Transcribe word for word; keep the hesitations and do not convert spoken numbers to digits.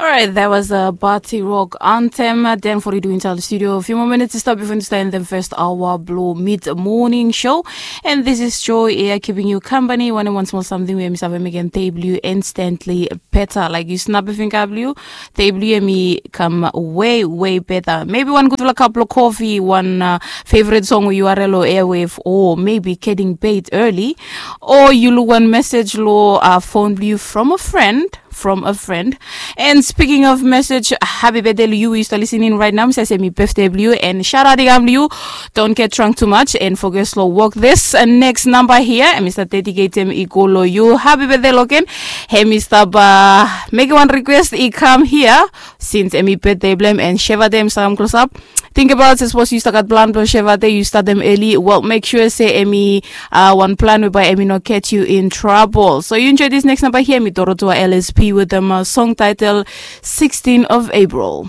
Alright, that was a party rock anthem. Ten forty-two inside the studio. A few more minutes to stop before you start in the first hour blue mid morning show. And this is Joy Air keeping you company. One and one small something where Mister Vem again, table you instantly better. Like you snap a finger blue, table you and me come way, way better. Maybe one good like cup of coffee, one uh, favorite song U R L or airwave, or maybe getting paid early, or you look one message lo uh, phone blue from a friend from a friend. And speaking of message, happy birthday to you. You still listening right now. Say me birthday blue and shout out to you. Don't get drunk too much and focus slow walk this uh, next number here. And Mister Dedicate him Ikolo you. Happy birthday Logan. Hey Mister Ba, make one request. He come here since Emi birthday blame and Sheva them some close up. Think about it, suppose you start at plan to Sheva day, you start them early. Well, make sure say Emi uh, one plan whereby Emi not catch you in trouble. So you enjoy this next number here, me Dorotoa L S P with them uh, song title sixteen of April.